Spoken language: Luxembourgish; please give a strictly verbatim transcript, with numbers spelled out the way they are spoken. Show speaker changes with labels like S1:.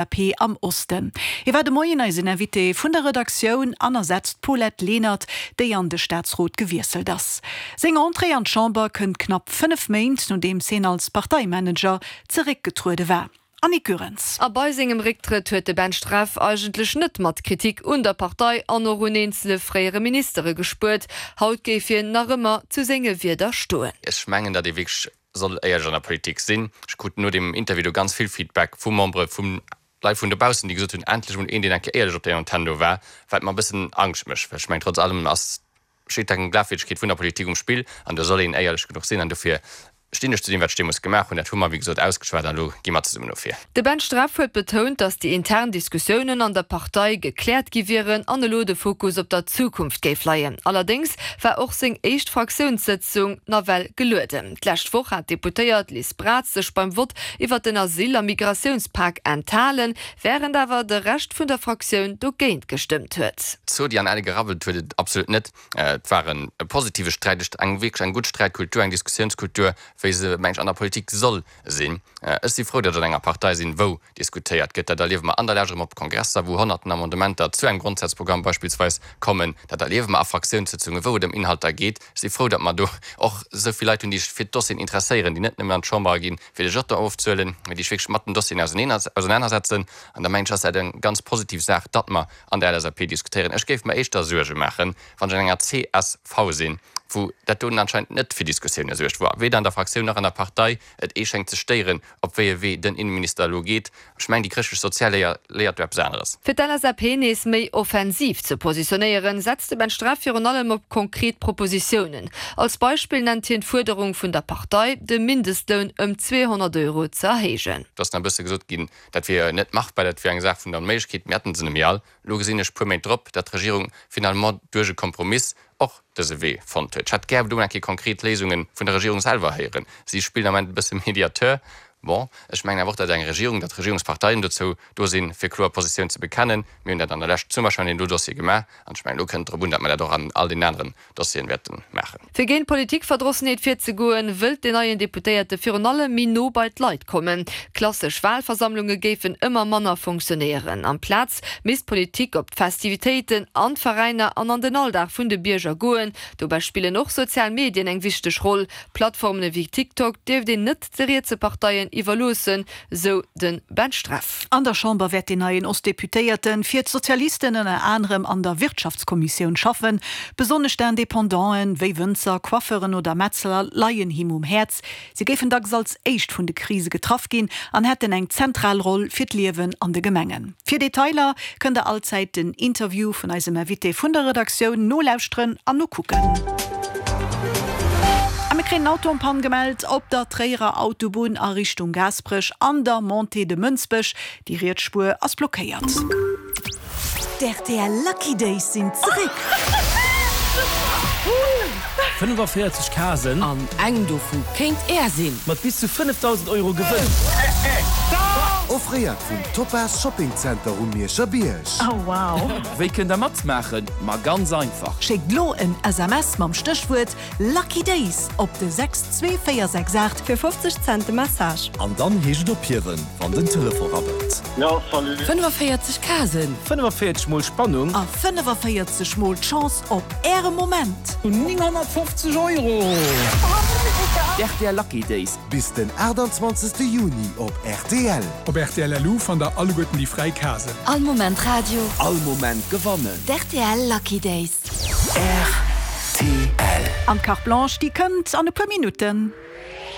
S1: L S A P am Osten. Hie war de Moien eisen Invité vun der Redaktioun an ersetzt d'Paulette Lenert, déi an de Staatsrot gewiesselt ass. Seng Entrée an d'Chamber kënnt knapp fënnef Méint, nodeems hien als Parteimanager zeréckgetruede war. Annick Goerens.
S2: A bei sengem Récktrëtt huet de Ben Streff eigentlech net mat Kritik un der Partei an och un eenzele fréiere Ministere gespuert. Haut géif hien nach ëmmer zu senge Wierder stoen.
S3: Ech mengen, datt ee wierklech soll éierlech an der Politik sinn. Ech krut no deem Interview do ganz vill Feedback vu Membere vun Leit vun dobaussen, déi gesot hunn, endlech mol een, deen eng Kéier éierlech op der Antenn do war, wat mer e bëssen Angscht mécht, well ech mengen, trotz allem ass, steet eng Glafwierdegkeet vun der Politik um Spill an do soll een éierlech genuch sinn an dofir stinn ech zu deem, wat ech deemools gemaach hunn. Dat hu mer, wéi gesot, ausgeschwat an elo gi mer zesummen no vir.
S2: De Ben Streff huet betount, datt déi intern Diskussiounen an der Partei gekläert gi wieren an elo de Fokus op der Zukunft géif leien. Allerdéngs war och seng éischt Fraktiounssëtzung nawell gelueden. D'lescht Woch hat d'Deputéiert Liz Braz sech beim Vott iwwer den Asyl a Migratiounspak enthalen, wärend awer de Rescht vun der Fraktioun dogéint gestëmmt huet.
S3: Zodi an Elle gerabbelt huet et absolut net. Et war e positive Sträit, eng wierklech eng gutt Sträitkultur, eng Diskussiounskultur, wéi se, meng ech, an der Politik soll sinn. Ech si frou, datt ech an enger Partei sinn, wou diskutéiert gëtt. Dat erliewe mer an der Lescht erëm op Kongresser, wou honnerten Amendementer zu engem Grondsazprogramm beispillsweis kommen. Dat erliewe mer a Fraktiounssëtzungen, wou et ëm Inhalter geet. Ech si frou, datt mer do och esou vill Leit hunn, déi sech fir d'Dossieren interesséieren, déi net nëmmen an d'Chamber ginn, fir de Jeton ofzehuelen, mä déi sech wierklech mat den Dossieren ausenanersetzen. An da mengen ech, ass dat eng ganz positiv Saach, datt mer an der L S A P diskutéieren. Ech géif mer éischter Suerge maachen, wann ech an enger C S V sinn, wou dat doen anscheinend net fir Diskussioune suergt, wou weder an der Fraktioun nach an der Partei et ee schéngt ze stéieren, op wéi e Wee den Innenminister elo geet. Ech mengen, déi chrëschtlech sozial Léier léiert do eppes aneres.
S2: Fir d'L S A P nees méi offensiv ze positionéieren, setzt de Ben Streff virun allem op konkret Propositiounen. Als Beispill nennt hien d'Fuerderung vun der Partei, de Mindestloun ëm zweehonnert Euro ze erhéijen.
S3: Do ass nach e bësse gesot ginn, dat wier net machbar, dat wier eng Saach vun der Onméiglechkeet, mir hätten se net méi all. Elo gesinn ech puer Méint drop, datt d'Regierung finalement duerch e Kompromiss och dëse Wee fonnt huet. Ech hätt gär do eng Kéier konkret Léisunge vun der Regierung selwer héieren. Si spillen am Ament e bësse Mediateur. Bon, ech mengen awer och, datt eng Regierung, datt d'Regierungsparteien dozou do sinn, fir kloer Positioun ze bekennen. Mir hunn dat an der Lescht zum Beispill an deem do Dossier gemaach an ech mengen, elo kënnt et drop un, datt mer dat och an all deenen aneren Dossieren wäerte maachen.
S2: Fir géint Politikverdrossenheet virzegoen, wëllt den neien Deputéierte virun allem méi no bei d'Leit kommen. Klassesch Walversammlunge géifen ëmmer manner funktionéieren. Amplaz misst d'Politik op d'Festivitéiten, an d'Veräiner an an den Alldag vun de Bierger goen. Dobäi spillen och sozial Medien eng wichteg Roll. Plattformen ewéi TikTok dierft een net de rietse Parteien iwwerloossen, sou de Ben Streff.
S1: An der Chamber wäert den neien Ostdeputéierte fir d'Sozialisten ënner anerem an der Wirtschaftskommissioun schaffen. Besonnesch d'Independanten, wéi Wënzer, Coiffeuren oder Metzler leien him um Häerz. Si géifen dacks als éischt vun de Krise getraff ginn an hätten eng zentral Roll fir d'Liewen an de Gemengen. Fir Detailer kënnt der allzäit den Interview vun eisem Invité vun der Redaktioun nolauschteren an nokucken. A mir kréien en Auto en panne gemellt op der Tréierer Autobunn a Richtung Gaasperech an der Montée de Mënsbech. Déi riets Spuer ass blockéiert.
S4: D' R T L Lucky Days sinn zeréck!
S5: fënnefenvéierzeg Casen.
S6: An eng dovu kéint Är sinn!
S5: Mat bis zu fënnefdausend Euro Gewënn!
S7: Offréiert vum Topaz Shopping Center um Mierscher Bierg.
S1: Oh wow!
S5: Wéi kënnt der matmaachen? Ma ganz einfach!
S4: Schéckt lo en S M S mam Stéchwuert Lucky Days op de sechs zwee véier sechs aacht.
S8: Fir fofzeg Cent de Message.
S7: An dann heescht et ophiewen, wann den Telefon rabbelt.
S9: Jo, salut!
S6: fënnefenvéierzeg Casen.
S5: fënnefenvéierzeg mol Spannung.
S4: A fënnefenvéierzeg mol d'Chance op äre Moment.
S5: nénghonnertfofzeg Euro! D' R T L Lucky Days.
S7: Bis den aachtanzwanzegste Juni op R T L.
S10: Op R T L L U fannt der alleguerten déi fräi Casen.
S11: All Moment Radio.
S5: All Moment gewannen.
S11: D' R T L Lucky Days.
S7: R T L.
S1: An d'Carte Blanche, déi kënnt an e puer Minutten.